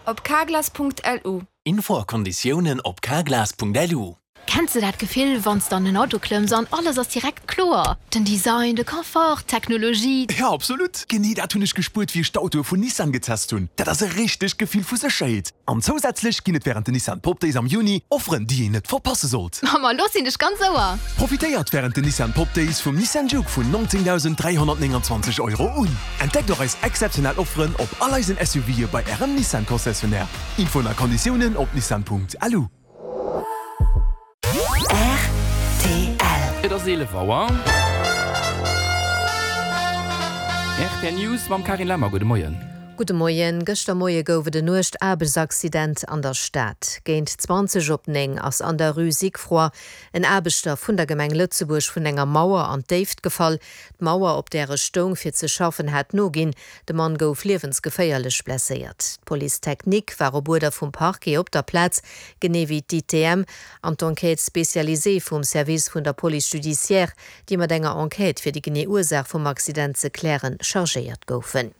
op carglass.lu. Info a Konditiounen op carglass.lu. Kenns de dat Gefill, wann s de an en Auto klëmms an alles ass direkt kloer? Den Design, de Confort, d'Technologie. Jo, absolut! Genee dat hunn ech gespuert, wéi ech d'Autoe vun Nissan getest hunn. Dat ass e richtegt Gefill vu Sécherheet. An zousätzlech ginn et wärend den Nissan Pop Days am Juni Offeren, déi een net verpasse sollt. Ma ma lo sinn ech ganz Ouer! Profitéiert wärend den Nissan Pop Days vum Nissan Juke vun 19.329 Euro un. Entdeckt och eis exzeptionell Offeren op all eisen SUVe bei Ärem Nissan Concessionnaire. Infoen a Konditiounen op nissan.lu. Rtl. Et ass 11 Auer. Rtl News mam Carine Lemmer. Gudde Moien. Gudde Moien. Gëschter Moie gouf et en uergt Aarbechtsaccident an der Stad. Géint 20 op 9 ass an der Rue Sigfroy en Aarbechter vun der Gemeng Lëtzebuerg vun enger Mauer an d'Déift gefall. D'Mauer, op där e stoung fir ze schaffen, hat noginn. De Mann gouf liewensgeféierlech blesséiert. D'Police technique war op Uerder vum Parquet op der Plaz, genee wéi d'ITM an d'Enquête spécialisée vum Service vun der Police judiciaire, déi mat enger Enquête fir déi genee Ursaach vum Accident ze klären, chargéiert goufen.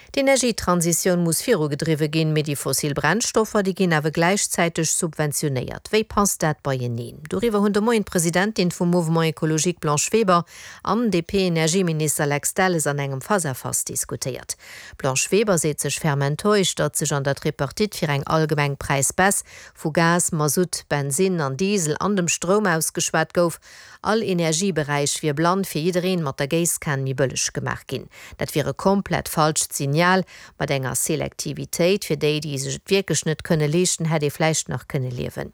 D'Energietransitioun muss virugedriwwe ginn, mee déi fossil Brennstoffer, déi ginn awer gläichzäiteg subventionéiert. Wéi passt dat beieneen? Doriwwer hunn de Moien d'Presidentin vum Mouvement Ecologique Blanche Weber an DP-Energieminister Lex Delles an engem Face-à-face diskutéiert. D'Blanche Weber seet sech ferm enttäuscht, datt sech an der Tripartite fir eng allgemeng Präisbaisse vu Gas, Masutt, Bensinn an Diesel an dem Stroum ausgeschwat gouf. All Energieberäich wier blann fir jiddereen mat der Géisskan méi bëlleg gemaach ginn. Dat wier e komplett falscht Signal. Mat enger Selektivitéit fir déi, déi sech et wierklech net kënne leeschten, hätt ee vläicht nach kënne liewen.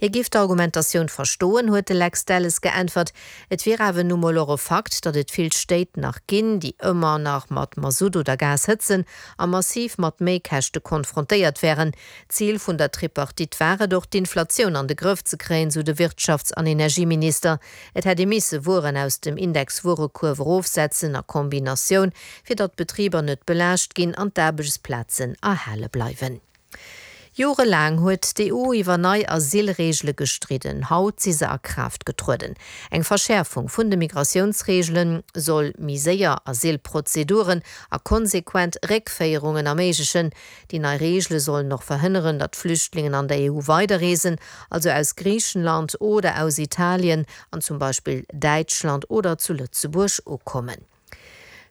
Hie giff d'Argumentatioun verstoen, huet de Lex Delles geäntwert. Et wier awer nu mol och e Fakt, datt et vill Stéit nach ginn, déi ëmmer nach mat Masutt oder Gas hëtzen a massiv mat Méikäschte konfrontéiert wären. Zil vun der Tripartite war et och, d'Inflatioun an de Grëff ze kréien, sou de Wirtschafts an Energieminister. Et hätt ee misse Wueren aus dem Indexwuerekuerf erofsetzen a Kombinatioun, fir datt d'Betriber net belaascht ginn an d'Aarbechtsplazen erhale bleiwen. Jorelaang huet d'EU iwwer nei Asylreegele gestridden. Haut si se a Kraaft getrueden. Eng Verschäerfung vun de Migratiounsreegele soll méi séier Asylprozeduren a konsequent Réckféierungen erméiglechen. Déi nei Reegele sollen och verhënneren, datt Flüchtlingen an der EU weiderreesen, also aus Griichenland oder aus Italien an zum Beispill Däitschland oder zu Lëtzebuerg ukommen.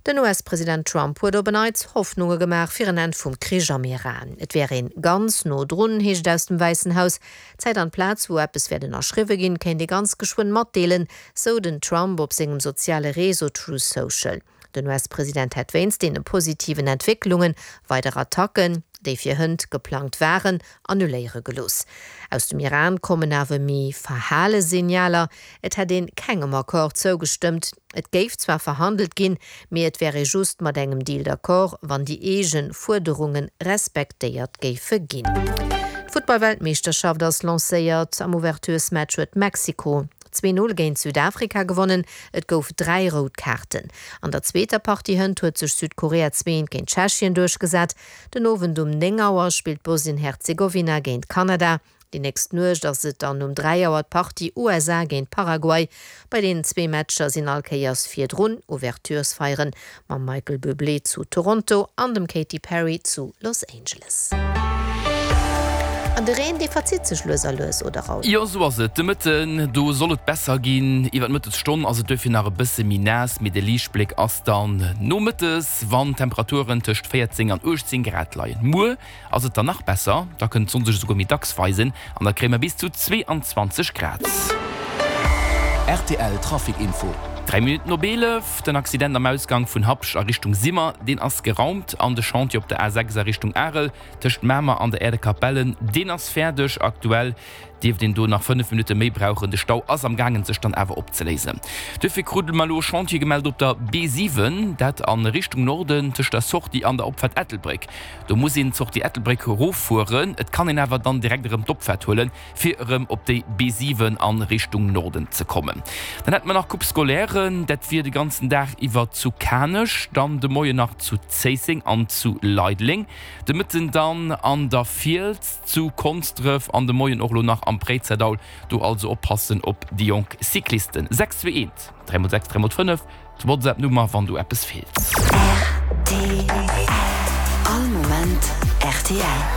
Den US-President Trump huet op en Neits Hoffnunge gemaach fir en Enn vum Krich am Iran. Et wär een ganz no drun, heescht et aus dem Wäissen Haus. D'Zäit an d'Plaz, wou eppes wäert ënnerschriwwe ginn, kéint ee ganz geschwënn matdeelen, sou den Trump op sengem soziale Réseau Truth Social. Den US-President hätt wéinst deene positiven Entwécklunge weider Attacken, déi fir hënt geplangt waren, annuléiere gelooss. Aus dem Iran kommen awer méi verhale Signaler, Et hätt een kengem Accord zougestëmmt. Et géif zwar verhandelt ginn, mee et wär ee just mat engem Deal d'accord, wann déi eege Fuerderunge respektéiert géife ginn. D'Futtball-Weltmeeschterschaft ass lancéiert. Am Ouverturesmatch huet Mexiko 2, 0 géint Südafrika gewonnen. Et gouf 3 rout Kaarten. An der zweeter Partie hënt huet sech Südkorea 2, 1 géint Tschechien duerchgesat. Den Owend um 9 Auer spillt Bosnien-Herzegowina géint Kanada. Déi nächst Nuecht ass et dann um 3 Auer d'Partie USA géint Paraguay. Bei deenen zwee Matcher sinn all Kéiers virdrun Ouverturesfeieren mam Michael Bublé zu Toronto an dem Katy Perry zu Los Angeles. An de Reen, dee verzitt sech lues a lues, oder Raoul? Jo, sou ass et. De Mëtten, do soll et besser ginn. Iwwer d'Mëttesstonn ass et duerfir nach e bësse méi naass, mee de Liichtbléck ass dann nomëttes, wann d'Temperaturen tëscht 14 an 18 Grad leien. Muer Ass et dann nach besser, da kënnt d'Sonn sech esouguer méi dacks weisen an da kréie mer bis zu 22 Grad. Rtl Trafic Info. 3 Minutten op 11, Den Accident am Ausgang vun Habscht a Richtung Simmer, deen ass geraumt an de Chantier op der A6 a Richtung Arel tëscht Mamer an der Äerdekapellen, deen ass fäerdeg. Aktuell dierft een do nach 5 Minutte méi brauchen. De Stau ass am gaangen sech dann awer opzeléisen. Duerfir krute mer elo e Chantier gemellt op der B7, dat a Richtung Norden tëscht der Sortie an der Opfaart Ettelbréck. Do muss een d'Sortie Ettelbréck eroffueren. Et kann een awer dann direkt erëm d'Opfaart huelen, fir erëm op déi B7 a Richtung Norden ze kommen. Dann hätte mer nach Coupe scolaire, dat wier de ganzen Dag iwwer zu Kanech, dann de Moien nach zu Zéisseng an zu Leideleng, de Mëtten dann an der Fiels, zu Konsdref an de Moien och elo nach am Préizerdaul. Do also oppassen op déi jonk Cyclisten. 6 2 1 3 mol 6 3 mol 5, d'Whatsapp Nummer wann do eppes feelt. Rtl. All Moment rtl.